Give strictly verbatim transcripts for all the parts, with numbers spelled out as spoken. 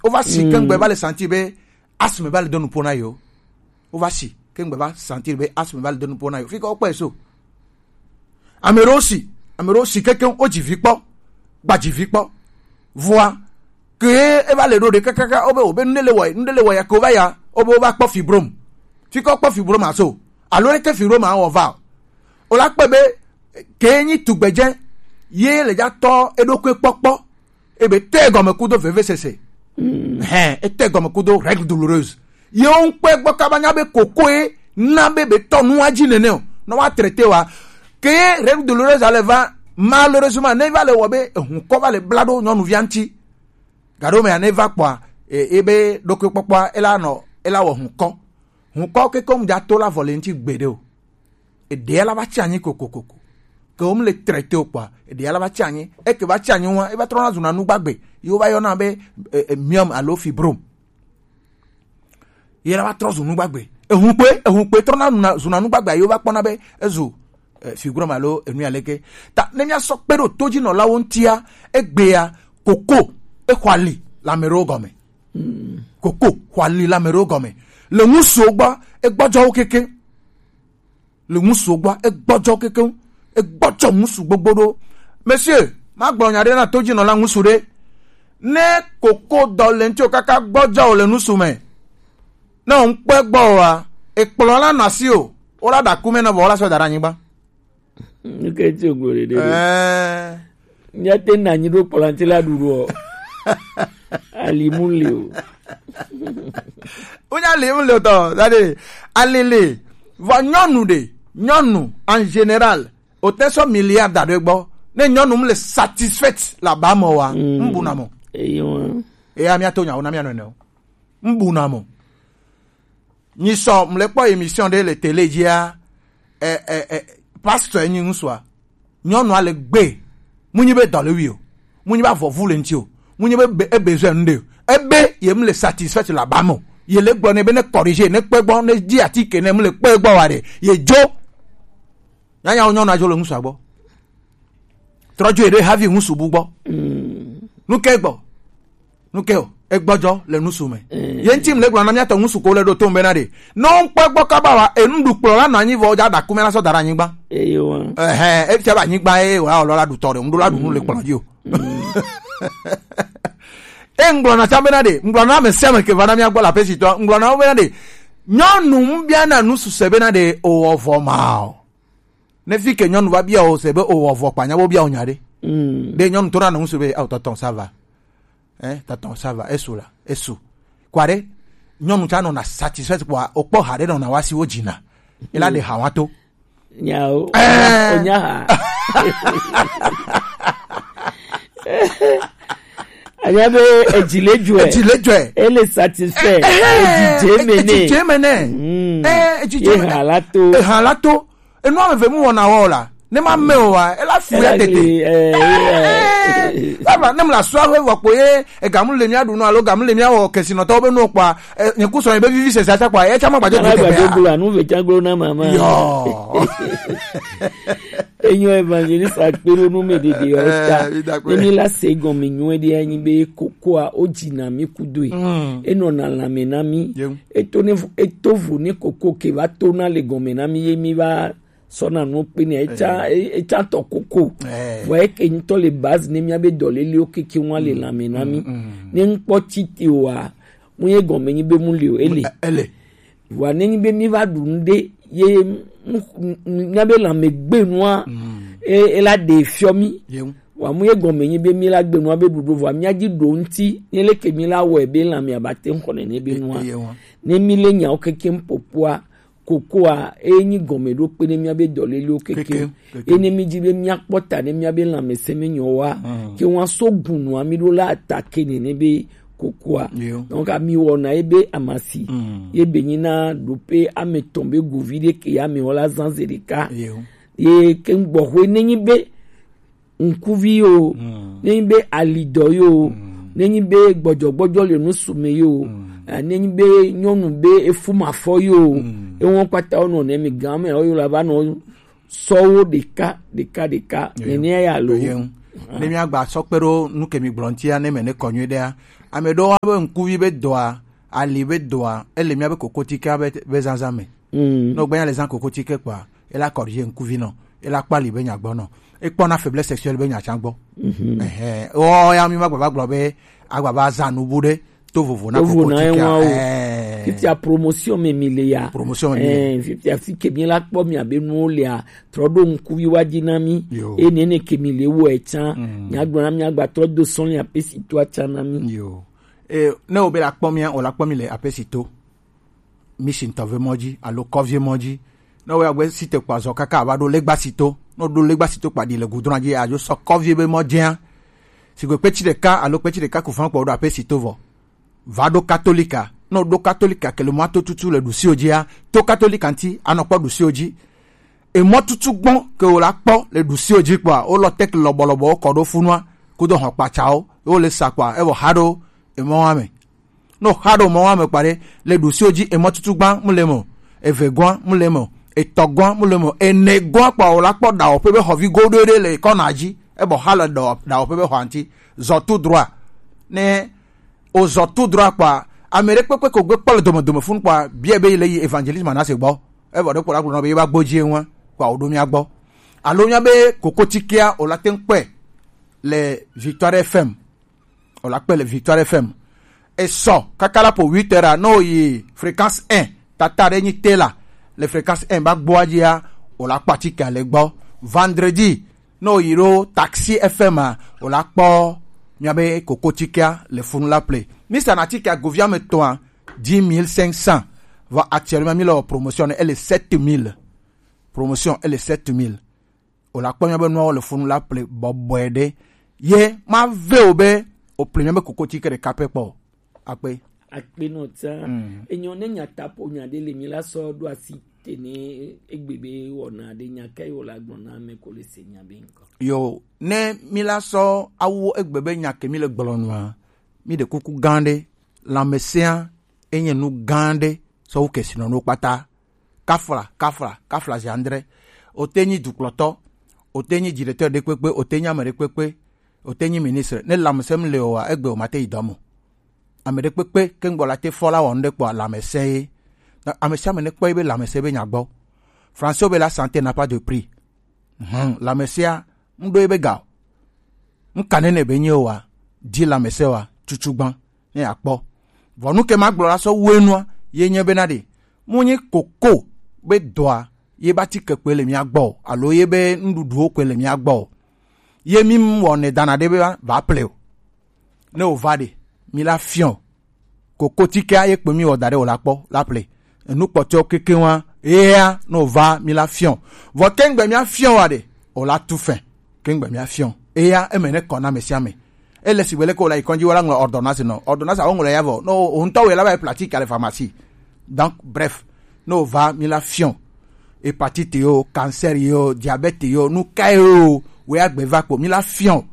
Wova si kengbe va le sentir be asthme va le do nupo na yo. Wova si kengbe va sentir be asthme va le do nupo na yo. Fika wokpɔe so. Ame ɖewo si, ame ɖewo si kekeŋ, wodzi vi kpɔ, gbadzi vi kpɔ. Vɔa, ke eva le ɖo ɖe kakaka, wobe, wobe nu ɖe le wɔe, nu ɖe le wɔe ya ke wova ya, wobe wova kpɔ fibrome. Fika wokpɔ fibrome aso. Alo leke fibrome awɔ va o. Wola kpɔe be, ke nyi tugbedze, ye le dza tɔ eɖokui kpɔkpɔ. Ebe te gɔme kudo vevesese. Hɛn, ete gɔme kudo règle douloureuse. Ye wo ŋkpɔe gbɔ kaba nya be kokoe na be be tɔ nua dzi nene o. Ne wa traité wa, ke règle douloureuse ale va, malheureusement, ne va le wɔ be ehunkɔ va le bla ɖo nyɔnuvia ŋuti. Gaɖo mea ne va kpɔa, e, ebe ɖokuikpɔkpɔa, ela nɔ, ela wɔ hunkɔ. Hunkɔ keke mu dza to la vɔ le ŋuti gbeɖe o. Eɖea la va tsi anyi kokokoko. Ke wo mu le traité o kpɔa, eɖea la va tsi anyi. Eke va tsi anyi wa, eva trɔna zuna nu gbagbe. Ye wova yɔna be, e, e, myome alo fibrome. Ye la va trɔ zu nu gbagbe. Ehun kpe, ehun kpe trɔna nuna, zuna nu gbagbe, ye wova kpɔna be ezu, e, fibrome alo enu ya leke. Ta ne mia sɔ kpe ɖo todzinɔlawo ŋutia, egbea, koko, exɔ ali le ame ɖewo gɔme. Koko xɔ ali le ame ɖewo gɔme. Le ŋusuwo gbɔ, egbɔdzɔ wo kekeŋ. Le ŋusuwo gbɔ, egbɔdzɔ wo kekeŋ. Egbɔdzɔ ŋusu gbogbo ɖo. Monsieur, magblɔ nya ɖe na todzinɔla ŋusu ɖe. Ne koko dɔ le ŋuti o kaka gbɔdzɔ o le ŋusu me, ne o ŋkpɔe gbɔ oa, ekplɔ la nɔ asi o. Wola ɖa ku me nɔ vɔ wola sɔ da ɖe anyigba. Nuke ti o gblɔ ɖeɖe ɖo? Ɛɛ. Míate na anyi ɖo kplɔ̃a ŋuti la ɖuɖu o. Ali mu le o. Wonya ali mu le o tɔ, c'est-à-dire, ali le. Vɔ nyɔnu ɖe, nyɔnu en général, o te sɔ milliard da ɖe gbɔ. Ne nyɔnu mu le satisfaite là-bas mɔ wa, mm, mbuna mɔ. Eyo. Eya mía to nya wo na mía nɔnɔewo. Mbuna mɔ. Nyi sɔ mle kpɔ émission ɖe le télé dzia, e, e, e, pasteur nyi ŋusua. Nyɔnua le gbe. Mu nyi be dɔ le wi o. Mu nyi be avɔvu le ŋuti o. Mu nyi be be, e besoin nu ɖe o. Ebe ye mu le satisfaite là-bas mɔ. Ye le gblɔ ne be ne corriger, ne kpe gbɔ, ne di atike ne mu le kpe gbɔ wa ɖe. Ye dzo. Nyanyawo nyɔnua dzo le ŋusua gbɔ. Trɔ dzo yi ɖe havi ŋusu bu gbɔ. Mm. Nu ke gbɔ? Nu ke o? Egbɔdzɔ le ŋusu me. Mm. Ye ŋuti mu le gblɔ na mía tɔ ŋusu ko le ɖo to ŋu bena ɖe. Ne wo ŋkpɔ egbɔ kaba wa, enu ɖu kplɔ la nɔ anyi vɔ, dza ɖa kume la sɔ da ɖe anyigba. Eyo wa. Ɛhɛ, efia be anyigba ye wa ɔlɔ la ɖu tɔ ɖe, ŋɖo la ɖu nu le kplɔ dzi o. Mm. E ŋgblɔ na tsã bena ɖe, ŋgblɔ na ame sia ame ke va na mía gbɔ le aƒe si tɔ, ŋgblɔ na wo bena ɖe, nyɔnu ŋu bia na ŋusu se bena ɖe o wɔ vɔ ma o. Ne fi ke nyɔnu va bia o se be o wɔ vɔ kpa nya bo bia o nya ɖe. Mm. Ɖe nyɔnu to na nɔ ŋusu be, "Awo tɔtɔ, ça va. Hein, tɔtɔ, ça va, esu la, esu." Kua ɖe, nyɔnu tsã nɔna satisfaite kpɔa, o kpɔ ha ɖe nɔna wa si wo dzina. E la ɖe ha wa to. Nyawo. Eh. O nya ha. Anya be edzi le dzɔe. Edzi le dzɔe. Ele satisfait. Eh, eh, edzi dze me ne. Edzi dze me ne. Mm. Eh, edzi dze me ne. Eha la to. Eha la to. Enu ame eve mu wɔna wɔ la. Ne ma me o wa, ela fu ya tete. Ela gli, eh, eh, eh. Baba, ne mu la sua we vɔ kpo ye, e gamu le mia ɖu nu alo gamu le mia wɔ kesinɔtɔwo be nu kpɔa, eh, nye ku sɔ ye be vivi sese atsa kpɔa, ye tsa ma gbadze glo tete a. Gbadze glo anu ve tsa glo na mama. Yo. Enyo évangéliste akpe ɖo nu me ɖeɖe o ta. Eh, mi da kpe. Ne mi la se gɔme nyuie ɖe anyi be kokoa o dzi na mi kudoe. Mm. Enɔna lãme na mi. Yeŋ. Eto ne vo, eto vo ne koko ke va to na le gɔme na mi ye mi va sɔna nu kpe ne etsa, eh, e-, etsa tɔ koko. Eh. Vɔ eke ŋutɔ le base ne mía be dɔlelewo keke ŋua le lãme na mi. Mm, mm. Ne ŋkpɔ tite oa, mu ye gɔme nyi be mu le o, ele. Ele. Vɔa ne nyi be mi va ɖu nu ɖe, ye mu, mu, mía be lãme gbe nua, mm, e, e la ɖe fiɔ mi. Yeŋ. Vɔa mu ye gɔme nyi be mi la gbe nua be ɖuɖu, vɔa mía dzi ɖo ŋuti, ne leke mi la wɔe be lãmea ba te ŋu xɔ nene be nua. E, e, ye wa. Ne mi le nyawo keke ŋu ƒoƒoa, kokoa, e nyi gɔmeɖokpe ne mía be dɔlelewo keke. Keke, keke. Ye ne mi dzi be mía kpɔ ta ne mía be lãmesẽ me nyɔ wa, mm, ke wa so gu nua mi ɖo la atake nene be kokoa. Yo. Donc, ami wɔna ye be amasi. Mm. Ye be nyi na ɖope ame tɔn be govi ɖe ke ya me wɔ la zan ze ɖeka. Yo. Ye ke gbɔxwe ne nyi be ŋkuvi yo, mm, ne nyi be alidɔ yo, mm, ne nyi be gbɔdzɔgbɔdzɔ le nusu me yo, mm, eh, ne nyi be nyɔnu be efu mafɔ yo, mm, ewɔn kpata wo nɔ ne mi gan me wo yo la va nɔ sɔ wo ɖeka, ɖeka, ɖeka, yo, nene ya lo. Yo. Ne mi agba sɔ kpe ɖo nu ke mi gblɔ ŋutia, ne me ne kɔ nyuie ɖea, Ame ɖewo be ŋkuvi be dɔa, ali be dɔa, ele míabe kokotike be, be zazã me. Mm. Ne wògbe nya le zã kokotike kpɔa, ela corriger ŋkuvi nɔ, ela kpɔ ali be nyagbɔ nɔ, ekpɔna faiblesse sexuelle be nya tsã gbɔ. Mhm. Ɛhɛ, wɔ ya mi ma gbava gblɔ be agbava zã nubu ɖe to vovo na kokotike. Fifia promotion me mi le ya. Promotion me mi le. Eh, fifia fi ke mi la kpɔ mi abe nuwo lea, trɔ ɖo ŋkuvi wa dzi na mi. Yo. Eye nene ke mi le wɔ etsã. Mm. Miagblɔ na mi agba trɔ do sɔn ya pe si to atsa na mi. Yo. E, ne wo be la kpɔ mia, o la kpɔ mi le ape si to. Mi si ŋutɔ ve mɔ dzi, alo kɔvie mɔ dzi. Ne wo ya gbe si te kpa zɔ kaka ava ɖo legba si to. Ne wo ɖo legba si to kpa ɖi le gudrɔn dzi, adzo sɔ kɔvie be mɔ dzia. Sigbe kpetsi ɖeka, alo kpetsi ɖeka ku fã kpɔ wo ɖo ape si to vɔ. Va ɖo Katolika. Ne wo ɖo Katolika ke le mɔ to tutu le ɖusiwo dzia, to Katolika ŋuti, anɔ kpɔ ɖusiwo dzi. Emɔtutu gbɔ ke wo la kpɔ le ɖusiwo dzi kpɔa, wo lɔ tek lɔbɔlɔbɔ wo kɔ ɖo funua, kudo hɔn kpatsawo, wo le sa kpɔa, evɔ ha ɖo emɔ wa me. No ha ɖo mɔ wa me kpa ɖe, le ɖusiwo dzi emɔtutu gbã mu le me o, eve gbã mu le me o, etɔ gbã mu le me o, ene gbã kpɔa, wo la kpɔ ɖawɔƒe be xɔvi goɖoe ɖe le kɔna dzi, ebɔ ha le ɖawɔ-, ɖawɔƒe be xɔa ŋuti, zɔ tout droit. Ne o zɔ tout droit kpɔa, ame ɖe kpekpe ko gbe kpɔ le dome dome funu kpɔa, bia be yi le yi Evangeliste Manasseh gbɔ. Evɔ ɖe kpɔ la gblɔ nɔ be yi va gbɔ dzi eŋua, kpɔa o ɖo mia gbɔ. Alo mia be kokotikea o la te ŋkpɔe le Victoire F M. O la kpɔe le Victoire F M. Esɔ kaka la po huit heures a, no yi Fréquence un, tata ɖe nyi te la, le Fréquence un ba gbɔa dzia, o la kpɔ atikea le gbɔ. Vendredi, ne o yi ɖo Taxi F M a, o la kpɔ mia be kokotikea le funu la ple. Mi sa na tikea govia me tɔa, dix mille cinq cents. Vɔ actuellement mi le wɔ promotion ne, ele sept mille. Promotion ele sept mille. O la kpɔ mia be nuawo le funu la ple bɔbɔe ɖe. Ye ma ve o be o ple mia be kokotike ɖeka pɛ kpɔ. Akpe. Akpe nɔ ta. Mm. Enyo ne nya ta po nya ɖe le mi la sɔ ɖo asi te ne egbe be wɔna ɖe nya ka yi wo la gblɔ na ame ko le se nya be ŋkɔ. Yo, ne mi la sɔ awu egbe be nya ke mi le gblɔ nua, mi ɖe kuku gã ɖe, lãmesẽa enye nu gã ɖe sɔ wu kesinɔnuwo kpata. Kafla, kafla, kafla zi andre. O te nyi dukplɔtɔ, o te nyi directeur ɖe kpekpe, o te nyi ame ɖe kpekpe, o te nyi ministre. Ne lãmesẽ mi le o wa, egbe o ma te yi dɔ mo. Ame ɖe kpekpe ke ŋgbɔ la te fɔ la wɔ nu ɖe kpɔ lãmesẽ ye. Na ame sia ame ne kpɔ yi be lãmesẽ be nya gbɔ. Français be la santé n'a pas de prix. Hum, lãmesẽa, ŋɖo yi be ga o. Ŋka nene be nye o wa, di lãmesẽ wa, tutu gbã, ne akpɔ. Vɔ nu ke ma gblɔ la sɔ wo enua, ye nye be na ɖe. Mu nyi koko be dɔa, ye ba ti ke kpe le mia gbɔ o, alo ye be nuɖuɖuwo kpe le mia gbɔ o. Ye mi mu wɔ ne dana ɖe be va, va ple o. Ne o va ɖe, mi la fiɔ. Kokotikea ye kpe mi wɔ da ɖe o la kpɔ, la ple. Enu kpɔtɔewo keke wa, ea, ne o va mi la fiɔ. Vɔ kengbe mia fiɔ wa ɖe, o la tu fɛ. Kengbe mia fiɔ. Ea, eme ne kɔ na ame sia ame. Ele sigbe leke o la yi kɔdzi, o la ŋlɔ ordonnance nɔ. Ordonnance a o ŋlɔ ya vɔ. No, o ŋutɔ wɛ la va yi pratique à la pharmacie. Donc, bref, ne o va mi la fiɔ. Hépatite yo, cancer yo, diabète yo, nu ka yo, wɛ agbe va kpo, mi la fiɔ.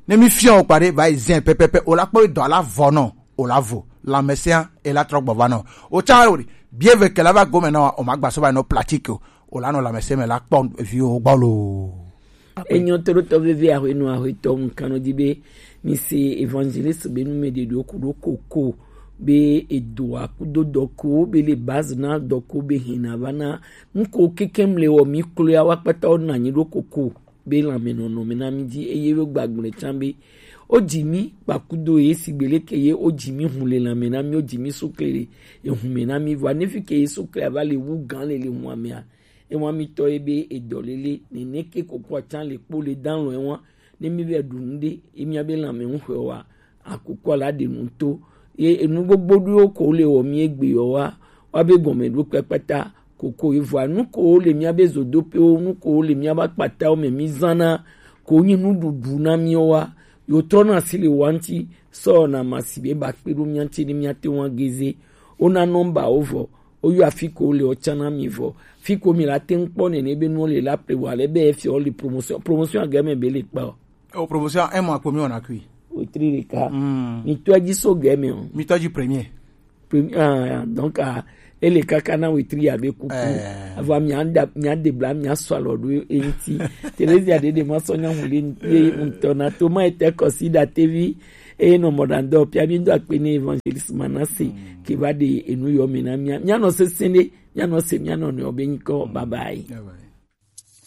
Ne mi fiɔ o kpa ɖe, va yi zɛn pɛpɛpɛ, o la kpɔ dɔ la vɔ nɔ, o la vo. Lãmesẽa, e la trɔ gbɔ va nɔ. O tsa o ɖi, bie ve ke la va gome nɔ, o ma gba so va nɔ pratique o. O la nɔ lãmesẽ me la kpɔ vi o gbɔ lo. Enyo to ɖo tɔ veve ahwe nu ahwe tɔ mu kano di be mi se évangéliste be nu me de do ku do koko be edo akudo dɔko be le base na dɔko be hina va na ŋko keke mle wɔ mi klo ya wa kpata o na nyi do koko be lãme nɔnɔ me na mi di eye wo gbagblẽ tsa be o dzi mi kpakudo ye sigbe leke ye o dzi mi hun le lãme na mi o dzi mi sukle le ehun me na mi vɔ ne fi ke ye sukle ava le wu gan le le hun amea. Ewa mi tɔ ye be edɔ lele nene ke koko atsa le kpo le dan lɔ ewa ne mi be ɖu nu ɖe emi abe lãme ŋu xɔ wa akoko la ɖe nu to ye enu gbogbo ɖewo ko le wɔ mi egbe yɔ wa wa be gɔme ɖo kpakpata koko evɔa nu ko le mi abe zodopewo nu ko le mi abe akpatawo me mi zana ko nyi nuɖuɖu na mi wa yo trɔ na si le wa ŋti sɔ na ma si be ba kpe ɖo mi ŋti ne mi ate wa geze wo na nɔmba wo vɔ Oyo afi ko le o tsana mi vɔ. Fi ko mi la te ŋkpɔ nene be nu le la ple wa le be fi o le promotion. Promotion a game be le kpa o. O promotion un mois ko mi ona kui. O tri le ka. Mm. Mi to ji so game o. Mi to ji premier. Premier ah donc ah ele kaka na we tri ya be kuku. Eh. Ava mi anda mi ade bla mi aswa lo do enti. Teresa de de ma so nya mu le ye ntona to ma ete ko si da tevi. Eye nɔ mɔ ɖa dɔ pia mi do akpe ne evangeliste Manase ke va ɖe enu yɔ mi na mia. Mia nɔ sese ne mia nɔ se mia nɔ nɔ be nyikɔ. Bye bye.